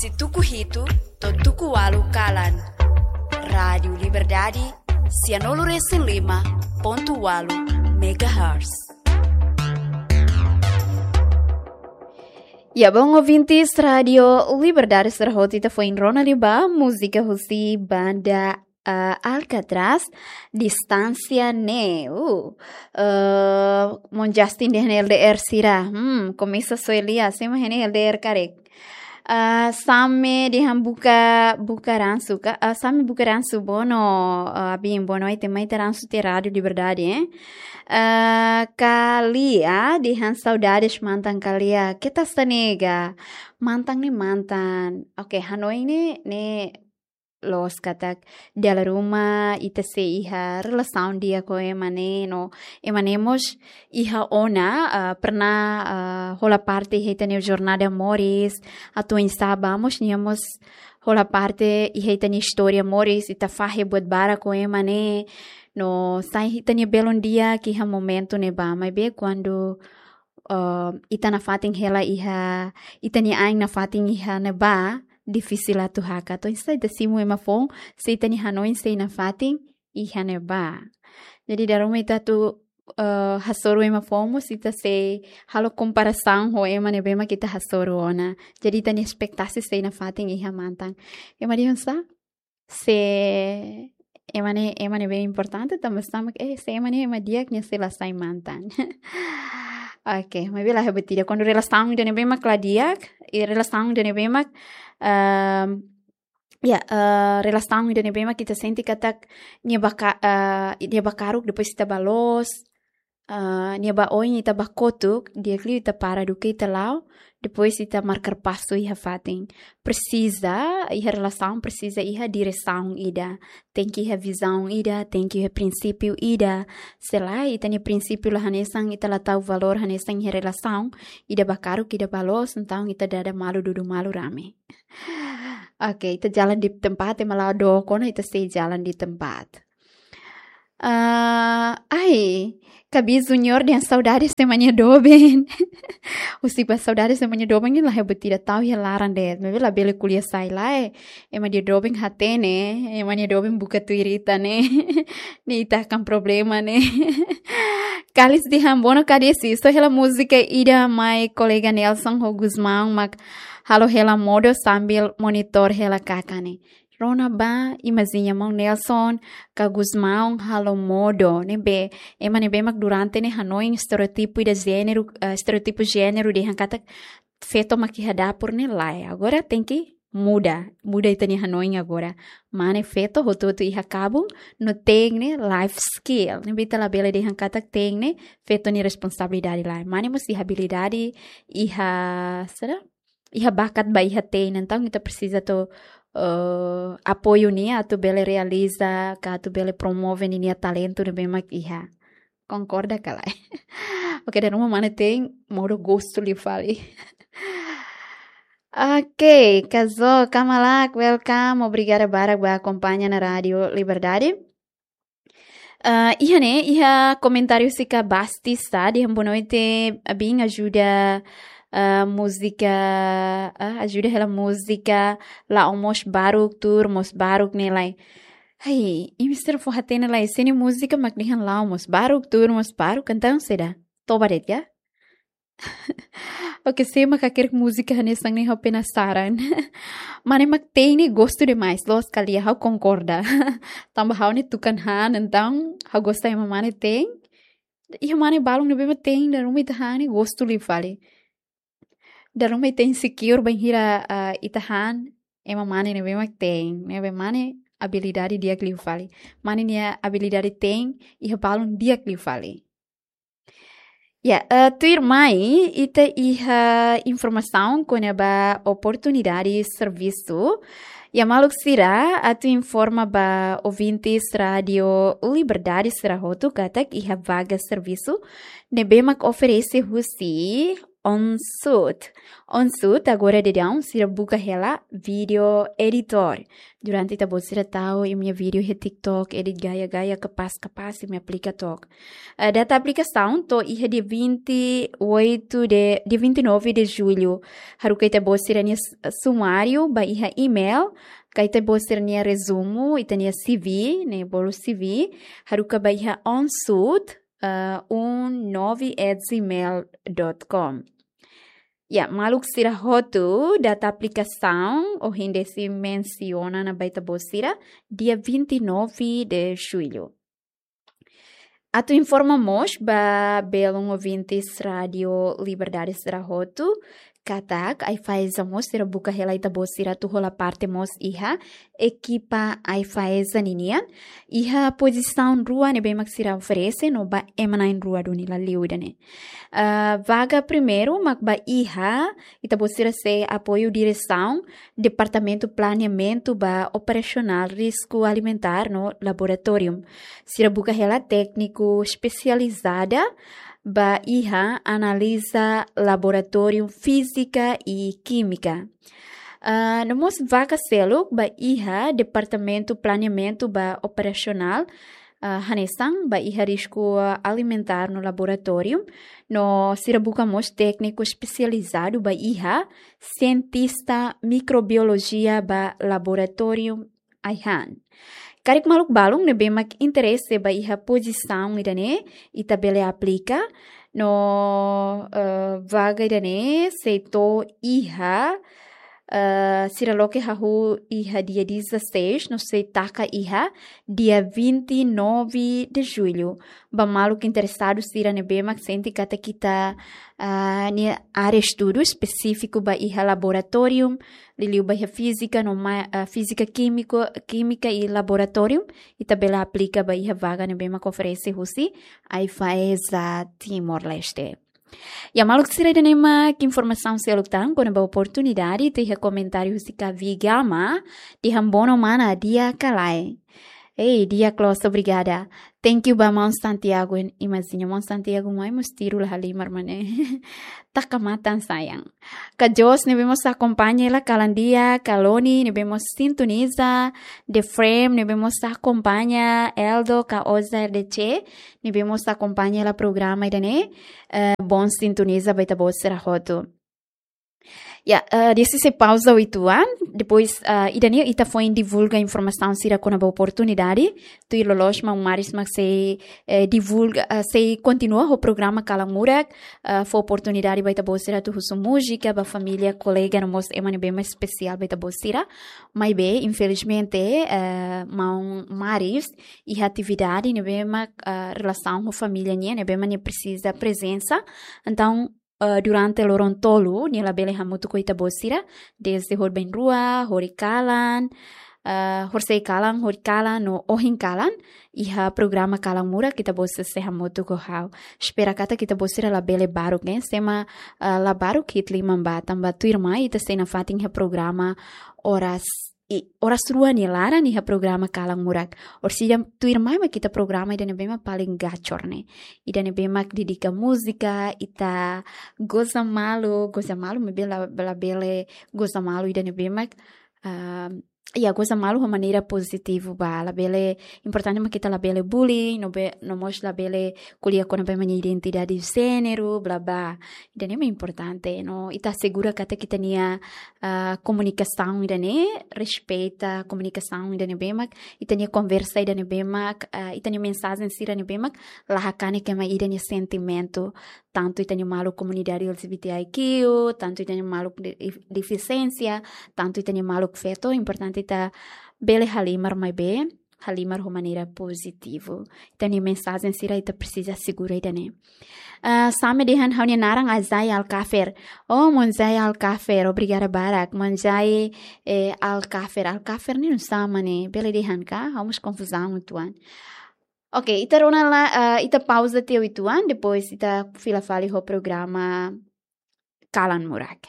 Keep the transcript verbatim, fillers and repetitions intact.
Husi tuku hitu to'o tuku ualu kalan. Rádiu Liberdade, sianulu resin lima pontu ualu megahertz. Ya, bon ouvintes Rádiu Liberdade, sira hotu ita foin rona liu ba múzika husi banda, ah, Alcatraz, Distánsia Ne'e. Uh, uh, Mon Justin dehan L D R sira. Hmm, komesa soe lia, sé mak iha ne'e L D R karik. Ah, Same dehan buka, buka ransu ka? Ah, Same buka ransu bono, ah, abin bono ai temai te ransu te Rádiu Liberdade, eh? Ah, Kalia dehan saudades mantan Kalia. Keta sa nega. Mantan ne'e mantan. Oke, hanoin ne'e, ne'e loos katak dala ruma ita sei iha relasaun di'ak ho ema ne'e no ema ne'e mós iha ona, ah, pernah, ah, hola parte iha ita-nia jornada moris, atu oinsá ba mós nia mós hola parte iha ita-nia istória moris, ita fahe buat barak ho ema ne'e, no sai ita-nia belun di'ak iha momentu ne'ebá, maibé kuandu, ah, ita nafatin hela iha, ita-nia ain nafatin iha ne'ebá, difisil atu hakat. Entaun, ita simu ema foun, se ita-nia hanoin sei nafatin iha ne'ebá. Jadi, dala ruma ita atu, eh, hasoru ema foun mós, ita sei halo komparasaun ho ema ne'ebé mak ita hasoru ona. Jadi, ita-nia espetasi sei nafatin iha mantan. Ema dehan sá? Se ema ne'e, ema ne'ebé importante, tanba sá mak, eh, se ema ne'e ema di'ak, nia sei la sai mantan. Oke, maibé la iha buat ida. Kuandu relasaun ida ne'ebé mak la di'ak, i relasaun ida ne'ebé mak, ehm, ya, eh, relasaun ida ne'ebé mak ita sente katak nia ba ka-, eh, nia ba karuk, depois ita ba loos, eh, nia ba oin ita ba kotuk, di'ak liu ita para duké ita la'o, depois ita markar pasu iha fatin. Presiza, iha relasaun presiza iha diresaun ida. Tenke iha vizaun ida, tenke iha prinsípiu ida. Se lae, ita-nia prinsípiu la hanesan, ita la tau valór hanesan iha relasaun, ida ba karuk, ida ba loos, entaun ita dada malu dudu malu rame. Oke, ita jalan di tempat, ema la'o dook ona, ita sei jalan di tempat. Ah, ai, Kabi Junior dehan saudades ema nia doben. Husi ba saudades ema nia doben, la iha buat ida, tau iha laran de'it. Maibé labele ko'alia sai lae. Ema nia doben hatene, ema nia doben buka tuir ita ne'e. Ne'e ita kan problema ne'e. Kalis dehan bono kadesi, só hela múzika ida mai kolega Nelson ho Gusmão mak halo hela modo sambil monitor hela kakan ne'e. Rona ba, imajina maun Nelson ka Gusmão halo modo, ne'ebé, ema ne'ebé mak durante ne'e hanoin estereótipu ida jéneru, eh, estereótipu jéneru dehan katak feto mak iha dapur ne'e lae. Agora tenke muda, muda ita-nia hanoin agora. Mane feto hotu-hotu iha kabun, no te'in ne'e life skill. Ne'ebé ita labele dehan katak te'in ne'e feto nia responsabilidade lae. Mane mós iha abilidade, iha, saida? Iha bakat ba iha te'in, entaun ita presiza atu, eh, apoiu nia atu bele realiza, ka atu bele promove ninia talentu ne'ebé mak iha. Konkorda ka lae? Oke, dala ruma mane te'in modo gostu liu fali. Oke, Kazo, Kamalak, welcome. Obrigada barak ba akompaña ona Rádiu Liberdade. Ah, iha ne'e, iha komentáriu husi Kabasti sa, dehan boa noite, abin ajuda, ah, múzika, ah, ajuda hela múzika, la'o mós baruk, tuur mós baruk ne'e lae. Ai, imi sira fó hatene lae, se ne'e múzika mak dehan la'o mós baruk, tuur mós baruk, entaun saida? Toba de'it ka? Oke, sé mak hakerek múzika hanesan ne'e, ha'u penasaran. Mane mak te'in ne'e gostu demais, loos ka lae, ha'u konkorda. Tanba ha'u ne'e tukan han, entaun ha'u gosta ema mane te'in. Iha mane balun ne'ebé mak te'in, dala ruma ita han ne'e gostu liu fali. Dala ruma ita insecure bainhira, ah, ita han ema mane ne'ebé mak te'in, ne'ebé mane abilidade di'ak liu fali. Mane nia abilidade te'in, iha balun di'ak liu fali. Ya, eh, tuirmai, ita iha informasaun kona-ba oportunidade servisu. Ya, maluk sira, atu informa ba ouvintes Rádiu Liberdade sira hotu katak iha vaga servisu ne'ebé mak oferese husi Onsut. Onsut, agora daudaun sira buka hela video editor. Durante ita-boot sira tau imi-nia video iha TikTok, edit gaya-gaya, kapás-kapás, imi aplika took. Eh, data aplikasaun to'o iha dia vinte e oito de, dia vinte e nove de julho. Haruka ita-boot sira-nia s-, sumáriu ba iha email, ka ita-boot sira-nia rezumu, ita-nia C V, ne'e, bolu C V, haruka ba iha onsut, eh, um nove at gmail dot com. Ya, maluk sira hotu, data aplikasaun, ohin de'it sei mensiona ona ba ita-boot sira, dia vinte e nove de julho. Atu informa mós ba belun ouvintes Rádio Liberdade sira hotu, katak AIFAESA mós sira buka hela ita-boot sira atu hola parte mós iha ekipa AIFAESA ninian, iha pozisaun rua ne'ebé mak sira oferese no ba ema na'in rua duni la liu ida-ne'e. Ah, vaga primeiru mak ba iha, ita-boot sira sei apoiu diresaun Departamentu Planeamentu ba Operasionál Risku Alimentár no Laboratóriu. Sira buka hela tékniku espesializada ba iha analiza laboratóriu fízika i kímika. Ah, no mós vaga seluk ba iha Departamentu Planeamentu ba Operasionál, ah, hanesan ba iha risku alimentár no laboratóriu. No sira buka mós tékniku espesializadu ba iha sientista mikrobiolojia ba laboratóriu ai-han. Karik maluk balun ne'ebé mak interese ba iha pozisaun ida-ne'e, ita bele aplika. No, eh, vaga ida-ne'e sei to'o iha, eh, sira loke hahú iha dia dezasseis, no sei taka iha dia vinte e nove de julho. Ba maluk interesadu sira ne'ebé mak sente katak ita, ah, nia área estudu espesífiku ba iha laboratóriu, liuliu ba iha fízika, no ma-, ah, fízika kímiko, kímika i laboratóriu, ita bele aplika ba iha vaga ne'ebé mak oferese husi AIFAESA Timor-Leste. Ya, maluk sira, ida-ne'e mak informasaun seluk tan kona-ba oportunidade, ita iha komentáriu husi Kavi Gama, dehan bono mana, di'ak ka lae. Ei, di'ak loos, obrigada. Thank you ba maun Santiago, imajiña maun Santiago mai mós tiru la halimar mak ne'e. Taka matan sayang. Ka Jos ne'ebé mós akompaña hela kalan di'ak, ka Loni ne'ebé mós sintoniza, The Frame ne'ebé mós akompaña, Eldo ka Oza R D C ne'ebé mós akompaña hela programa ida-ne'e, eh, boon sintoniza ba ita-boot sira hotu. Ya, eh, dehan sei pauza uitoan, depois, eh, ida-ne'e ita foin divulga informasaun sira kona-ba oportunidade, tuir loloos maun Maris mak sei, eh, divulga, eh, sei kontinua ho programa Kalan Murak, eh, fó oportunidade ba ita-boot sira atu husu múzika ba família, kolega, no mós ema ne'ebé mak espesiál ba ita-boot sira. Maibé, infelizmente, eh, maun Maris iha atividade ne'ebé mak, eh, relasaun ho família nian, ne'ebé mak nia presiza prezensa. Entaun, eh, durante loron tolu, nia labele hamutuk ho ita-boot sira, dezde horibainrua, horikalan, eh, horisehik kalan, horikalan, no ohin kalan, iha programa Kalan Murak, ita-boot sira sei hamutuk ho ha'u. Espera katak ita-boot sira labele baruk, eh, se ema, eh, la baruk hi'it liman ba, tanba tuirmai ita sei nafatin iha programa oras, i, oras rua nia laran iha programa Kalan Murak. Orsida tuirmai mak ita programa ida ne'ebé mak paling gacor ne'e. Ida ne'ebé mak dedika múzika, ita goza malu, goza malu maibé la, labele goza malu ida ne'ebé mak, ah, ya, goza malu ho maneira pozitivu ba, labele, importante mak ita labele bullying, no be, no mós labele ko'alia kona-ba ema nia identidade jéneru, bla, bla. Ida-ne'e mak importante, no ita asegura katak ita-nia, ah, komunikasaun ida-ne'e, respeita komunikasaun ida ne'ebé mak, ita-nia konversa ida ne'ebé mak, ah, ita-nia mensajen sira ne'ebé mak, la hakanek ema ida nia sentimentu, tantu ita-nia maluk komunidade L G B T I Q, tantu ita-nia maluk de-, defisiénsia, tantu ita-nia maluk feto, importante ita bele halimar maibé, halimar ho maneira pozitivu. Ita-nia mensajen sira ita presiza asegura ida-ne'e. Ah, Same dehan ha'u-nia naran Azai Alkafer. Oh, maun Zai Alkafer, obrigada barak. Maun Zai, eh, Alkafer. Alkafer ne'e nusá mak ne'e, bele dehan ka? Ha'u mós konfuzaun uitoan. Oke, ita rona lai, eh, ita pauza tiha uitoan, depois ita fila fali ho programa Kalan Murak.